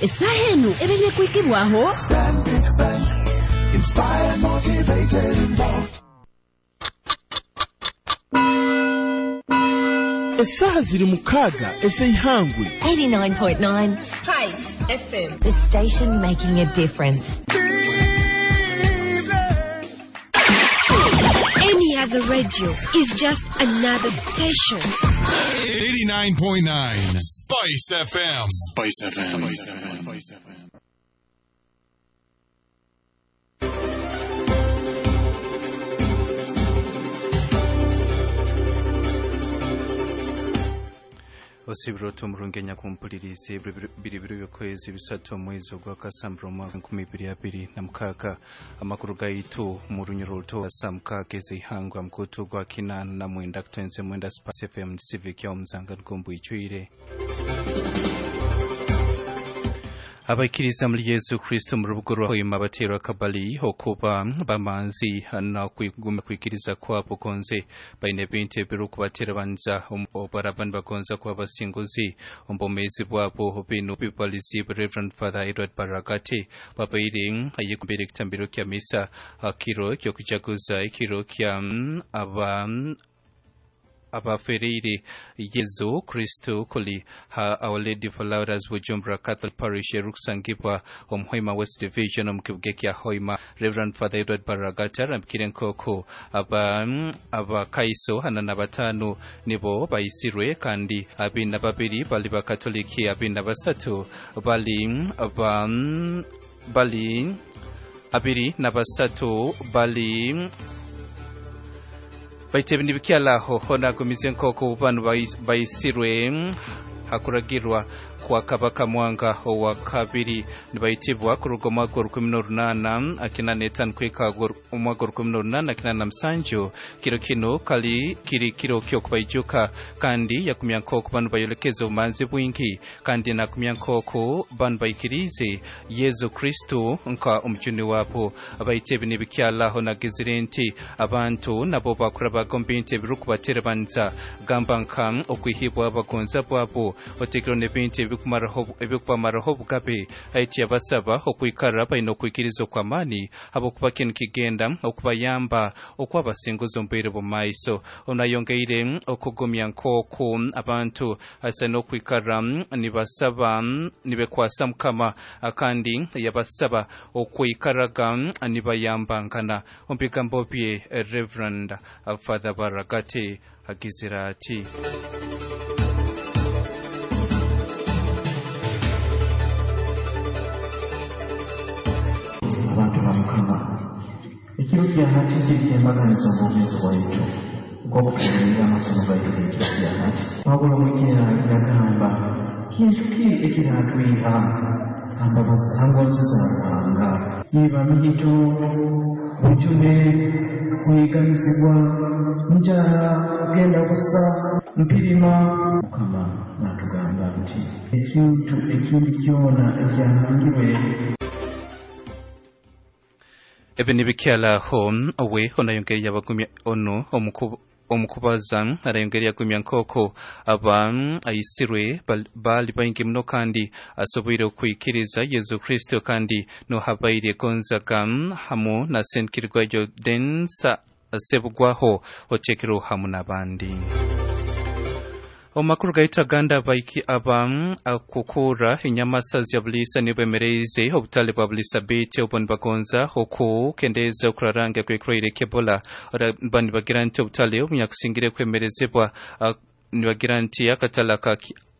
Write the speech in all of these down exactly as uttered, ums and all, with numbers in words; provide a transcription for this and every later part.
Essaaha enu ebaire kwikibwaho Stanbic Bank. Inspired, motivated, involved. Essaaha ziri mukaaga ez'eihangwe. eighty-nine point nine Spice F M. The station making a difference. Any other radio is just another station. eighty-nine point nine Spice F M. Spice F M. Spice F M. Osibiro tumurunge nyakumpulirize biri biri by'okwezi bisatu omwezi ogwa Kasambura omwaka nkumi ibiri abiri na mukaaga. Amakuru gaitu mu runyoro ruto saa mukaaga ez'eihangwe mukutu gwa kinaana na mwenda kutenze mwenda Spice F M Civic ya Omuzanga Rugombo icwire. Abaikiriza muri Yesu Kristo mu rubuga rwa Hoima baterwa kabali okuba bamanzi na kwiguma kwikiriza kwabo konze baine bintu ebirikubatera banza obarabani bagonza kuba abasinguzi ombomezi bwabo bino bibalizi Reverend Father Edward Baragati babaire ayekumbere ekitambiro kya misa akiro kyokujaguza ekiro kya aba abafereire Yesu Kristo kuli ha Our Lady of Lourdes Bujumbura Catholic Parish erukusangibwa omu Hoima West Division omu kibuga kya Hoima. Reverend Father Edward Baragati arambikire nk'oku aba abakaiso hana na batano nibo bayisirwe kandi abina na babiri bali bakatoliki abina na basatu bali ba bali abiri na basatu bali baite nibikyalaho honagumize nk'oku banu bayisirwe hakuragirwa kwa Kabaka Mwanga owa kabiri nibayitibwa kuruga omwaka orukumi n'orunaana akina n'etaano kwika omwaka orukumi n'orunaana akina na musanju. Kiro kino kali kiri kiro ky'okubaijuka kandi yakumya nk'oku banu bayolekeza obumanzi bwingi kandi nakumya nk'oku banu baikirize Yesu Kristo nka omujuni wabo. Abaite ebi nibikyalaho nagizire nti abantu nabo bakurabaga omu bintu ebirikubaterebanisa gamba nka okwihibwa abagonza bwabo otekero n'ebintu ebikubamaraho obugabe. Aiti yabasaba okwikara baine okwikiriza okw'amaani habwokuba kinu kigenda okubayamba okwabasinguza omu bwire bw'omu maiso. Ono ayongeire okugumya nk'oku abantu asa n'okwikara nibasaba nibekwasa Mukama kandi yabasaba okwikaraga nibayambangana. Omu bigambo bye Reverend Father Baragati agizira ati abantu ba Mukama ekiro kya hati kiri kyembaganiza obwomeezi bwaitu nk'okutuulirira amasomo gaitu g'ekiro kya hati. Pawulo omwikira yagamba kintu ki ekiratwiha hangonzi za Ruhanga? Iba mihito, bujune, kuhiganizibwa, njara, kugenda busa, mpirima. Mukama n'atugamba nti ekintu ekindi kyona ekyahangirwe Ebi nibikyalaho owe onayongeri yabagumya ono omukubu omukubaza arayongera yagumya nk'oko aba ayisirwe bali baingi muno kandi asoboire okwikiriza Yesu Kristo kandi nohabaire Gonzaga hamu na Senkirwa Jordansa Sebugwaho otekero hamu n'abandi. Omakuru gaita ganda baiki aba akukura enyamasa zya bulisa nibemereize obutale bwa bulisa bete obwo nibagonza okukendeza okuraranga kw'ekirwaire ky'Ebola. Bani bagira nti obutale obunyakusingire kwemerezebwa nibagira nti akatale ka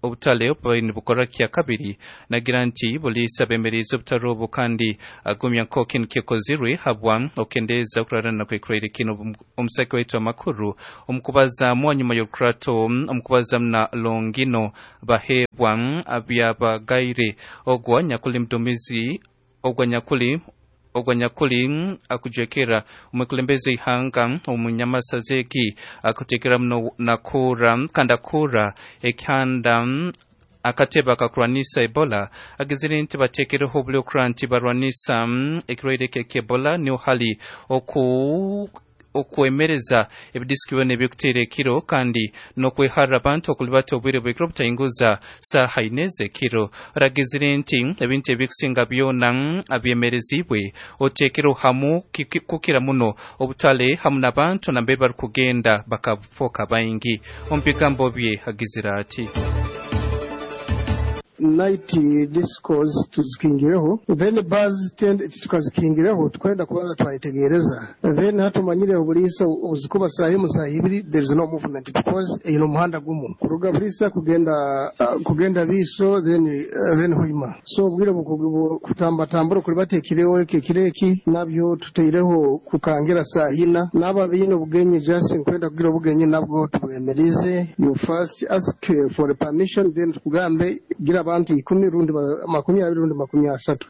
obutale obubaire nibukora kya kabiri nagira nti bulisa bemereize obutale obwo kandi agumya nk'oku kinu kyekozirwe habwa okendeza okurarana kw'ekirwaire kino. Omusake waitu amakuru omukubazaamu anyuma y'orukurato omukubazaamu na Longino Bahebwa abyabagaire ogwa nyakuli mdumizi ogwa nyakuli ogwa nyakuli akujekera omukulembeze ihanga omunyamasazeki akutekera muno nakura kandi akura ekyanda akatebe akakurwanisa Ebola agizire nti bateekereho obuli okura nti barwanisa ekirwaire ky'Ebola niho hali oku okwemereza ebidisiki byona ebikuteera ekiro kandi n'okweharira abantu okulibata obwire bw'ekiro butainguza saaha ine z'ekiro. Aragizire nti ebintu ebikusinga byona abyemerezibwe oteekero hamu kukira muno obutale hamu n'abantu nambere barikugenda bakafoka baingi. Omu bigambo bye agizire ati night discos tuzikingireho, then bars tukazikingireho, tukwenda kubanza twayetegereza, then hatumanyire obuliisa obuzikuba saa imu saa ibiri there is no movement because ino muhanda gumu kuruga Buliisa kugenda uh, kugenda Biiso then uh, then Hoima. So obwire kutambatambura kuri batekireho ekireki nabyo tuteireho kukangira saa ina n'aba biine obugenyi just nkwenda kugira obugenyi nabwo tubwemerize. You first ask for a permission then tukugambe gira abantu ikumi rundi makumi abiri rundi makumi asatu.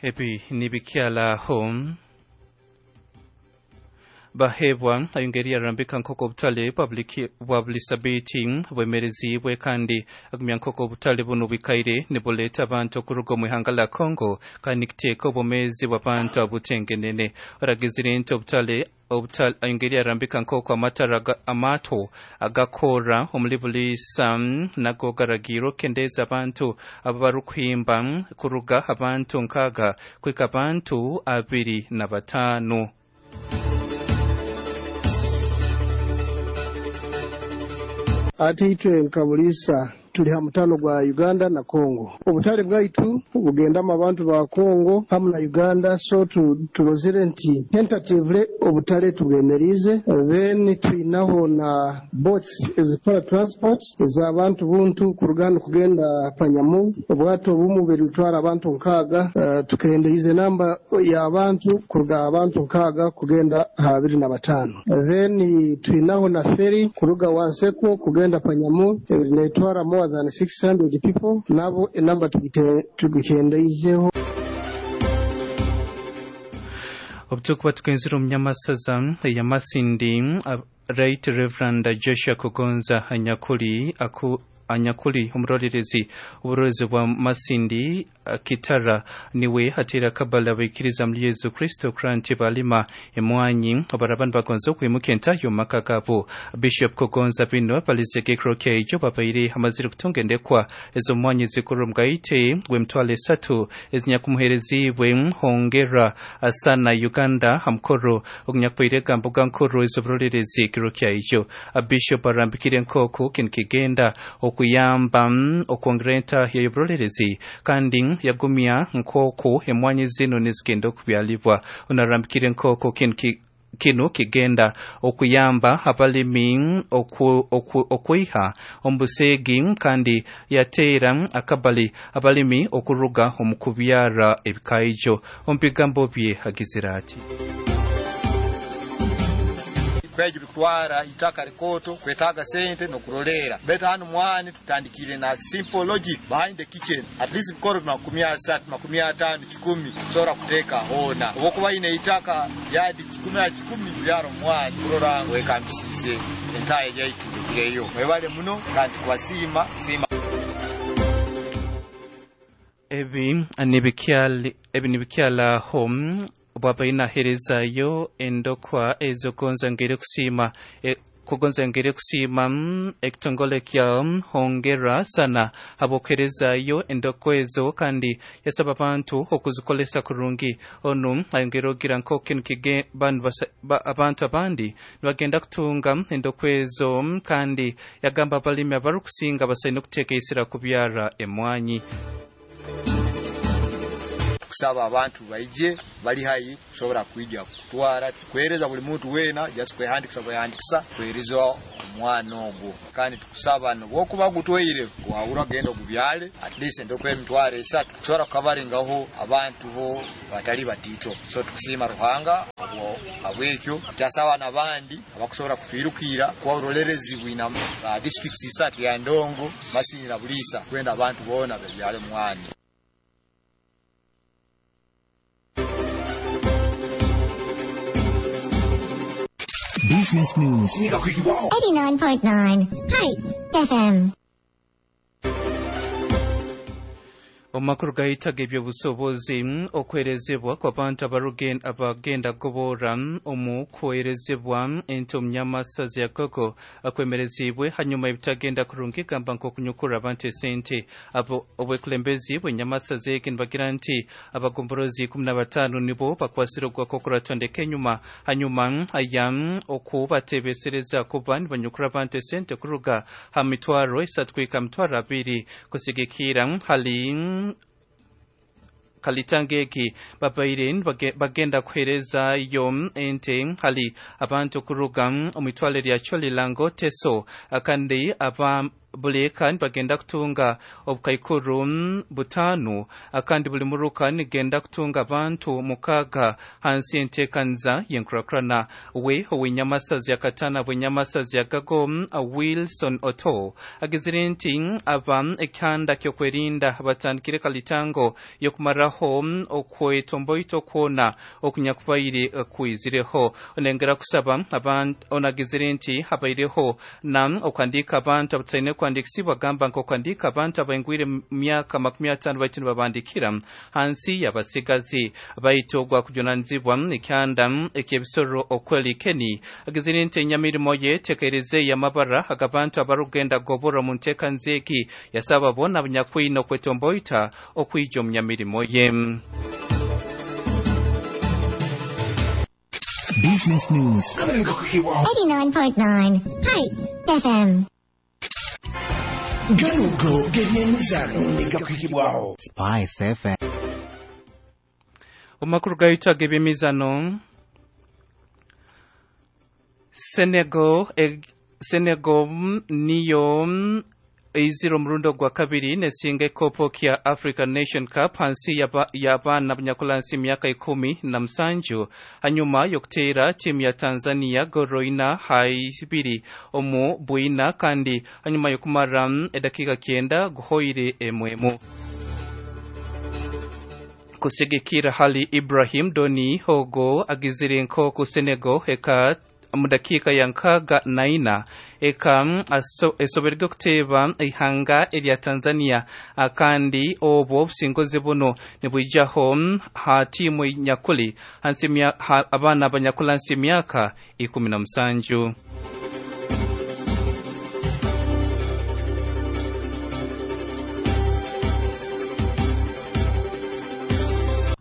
Ebi nibikyalaho bahebwa ayongeri arambika nkoko obutale bwa bulisabiti bwemerezibwe kandi agumya nkoko obutale buno bwikaire nibuleeta abantu okuruga omu ihanga la Congo kandi nikiteeka obwomeezi bw'abantu abutengenene. Aragizire nti obutale obutale ayongeri arambika nkoko amatara amato agakora omuli Buliisa nago garagirwe okukendeeza abantu abarukuhimba kuruga abantu nkaaga kwika abantu abiri na bataano. Ate itwe nka Buliisa tuli ha mutano gwa Uganda na Congo. Obutale bwaitu bugendamu abantu ba Congo hamu na Uganda, so turozere nti tentatively obutale tubwemerize. Then twinaho na boats ezikora transport ez'abantu buntu kuruga kugenda Panyamu. Obwato obumu butwara abantu nkaaga, uh, tukendeize namba y'abantu kuruga abantu nkaaga kugenda abiri na bataano. Then twinaho na ferry kuruga Wanseko kugenda Panyamu netwara more than six hundred people, nabo enamba tugikendeizeho. Obutukuba tukenzire omunyamasaza ya Masindi Right Reverend Joshua Kugonza Anyakuli aku Anyakuli omurorerezi oburorezi bwa Masindi Kitara niwe hatera kabala abaikiriza muri Yesu Kristo kuranti balima emwanyi abarabani bagonza okwimuka entayo maka gabo. Bishop Kugonza bino balizege krokejo babaire amazire kutunga endekwa ezo mwanyi zikuru mgaite gw'emitwalo esatu ezinyakumuherezibwe hongera asana Uganda hamukoro ogunyakubaire gambuga nkuru ez'oburorerezi kirokyaijo. Bishop arambikire nkoko kintu kigenda okuyamba okwongera entahya y'oburorerezi kandi yagumya nkoko emwanyi zino nizigenda okubyalibwa. Onarambikire nkoko kintu kino kigenda okuyamba abalimi oku, oku, okwiha omubuseegi kandi yateera akabali abalimi okuruga omu kubyara ebikaijo. Omu bigambo bye agizire ati kwejo bitwara itaka rikoto kwetaga sente nokurolera beta hanu mwani tutandikire na simple logic behind the kitchen at least bikoro makumi asatu makumi atano kikumi kusobora kuteeka hona obokuba ine itaka yadi kikumi na kikumi byaro mwani kurora wekambisize entaye yaitu ireyo mwebale muno kandi kubasiima siima. Ebi nibikyali ebi nibikyala home bwaba inaherezayo endokwa ezogonza ngere kusiima e, kugonza ngere kusiima ekitongole kya hongera sana habwokuherezayo endokwa ezo kandi yasaba abantu okuzikolesa kurungi. Onu ayongera ogira nk'oku kige bantu ba, abantu abandi nibagenda kutunga endokwa ezo kandi yagamba abalimi abarukusinga basaine okuteeka kubyara emwanyi. Kusaba abantu baije bali hayi kusobora kuija kutwara kuhereza buli muntu wena just kwehandikisa kwehandikisa kuhereza omwana ogwo kandi tukusaba nobwokuba gutweire wahura genda gubyale at least ndokwe emitwaro esatu kusobora kukavaringaho abantu bo batali batito. So tukusima Ruhanga obwo abwekyo tasaba nabandi abakusobora kutwirukira kwa urolerezi bwina uh, districts isatu ya Ndongo Masindi na Buliisa kwenda abantu bona babyale mwani. Business News eighty-nine point nine Hype F M. Omakuru gahitaga ebyobusobozi okwerezebwa kw'abantu abagenda gobora omu kwerezebwa ente omunyamasazi ya Gogo akwemerezibwe hanyuma ebitagenda kurungi gamba nk'okunyukura abantu esente. Abo obwekulembezi bw'enyamasazi egi nibagira nti abagomborozi ikumi na bataano nibo bakwasire ogwakokuratondeka enyuma hanyuma aya okubatebesereza kuba nibanyukura abantu esente kuruga ha mitwaro esatu kuhika mitwaro abiri kusigikira hali kalitangeki babaire bagenda kuhereza yo ente hali abantu kuruga omitwale lya Cholilango Teso kandi aba buleka bagenda kutunga obukaikuru butanu kandi buli muruka nigenda kutunga abantu mukaga hansi entekanza yenkurakurana. We owenyamasazi yakatana bwenyamasazi yagago Wilson Oto agizire nti aba ekyanda kyokwerinda batandikire kalitango yokumaraho okwetomboito kwona okunyakubaire kwizireho. Onengera kusaba abantu onagizire nti habaireho na okwandika abantu abataine kwandikisibwa gamba nko kwandika abantu abaingwire myaka makumi atano baitu nibabandikira hansi y'abasigazi baitu ogwa kujunanizibwa ekyanda eky'ebisoro okweli keni agizire nti enyamirimo ye tekereze y'amabara agabantu abarugenda gobora mu nteeka nzeki yasaba bona abanyakwine okwetomboita okwija omu nyamirimo ye. Business News eighty-nine point nine Spice F M. Ganugo gebyemizano gakwikibwaho Spice F M. Omakuru gayitaga ebyemizano Senegal e, Senegal niyo eizira omurundo gwa kabiri nesinga ekopo kya African Nation Cup hansi y'abaana abanyakulansi emyaka ikumi na musanju hanyuma y'okuteera tiimu ya Tanzania goro ina haibiri omu bwina kandi hanyuma y'okumara edakiika kyenda guhoire emwemu. Kusigikira hali Ibrahim Doni Hogo agizire nkoku Senegal eka mudakika ya nkaga na ina eka esoberwe kuteeba ihanga erya Tanzania kandi obwo obusingozi buno nibwijaho ha tiimu nyakuli hansi abaana abanyakula nsi emyaka ikumi na musanju.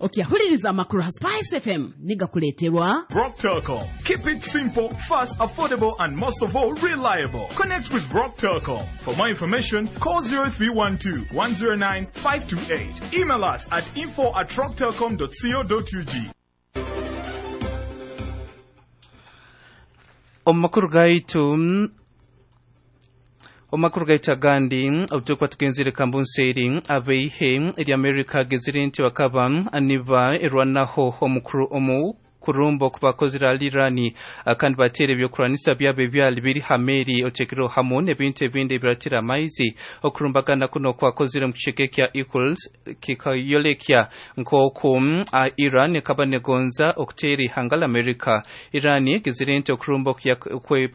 Okiyahuliriza amakuru ha Spice F M nigakuleterwa Brock Telcom. Keep it simple, fast, affordable and most of all reliable. Connect with Brock Telcom. For more information, call zero three one two, one zero nine, five two eight. Email us at info at rocktelcom dot co dot U G. Omakuru gaitu Omakuru gaita gandi obutukwa tugenzire kambunseri abeihe eri America gezire nti bakaba aniba erwanaho omukuru omu kurumbo kubakozera alirani kandi batere ebyokuranisa byabo ebyali biri hameri otekero hamu n'ebintu ebindi ebiratira amaizi. Okurumbagana kuno kwakozire mu kiceke kya Equals kikayolekya nk'oku Iran ekaba negonza okuteera ihanga la America. Iran egizire nti okurumba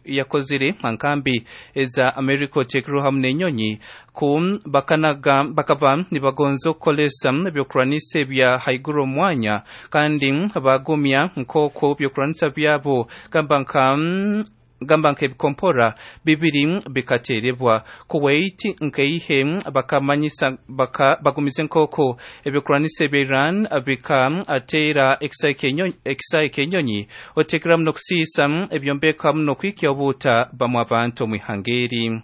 yakozire nkambi eza America otekero hamu n'enyonyi ku bakanaga bakaba nibagonza okukolesa ebyokuranisa ebya haiguru omwanya kandi bagumya nkoko byokuranisa byabo gamba nka gamba nk'ebikompora bibiri bikaterebwa. Kuwait nkeihe bakamanyisa baka bagumize nkoko ebyokuranisa ebya Iran bikaatera ekisayi kenyonyi otekeramu n'okusiisa ebyombeko hamu n'okwikya obuuta bamwe abantu omu ihanga eri.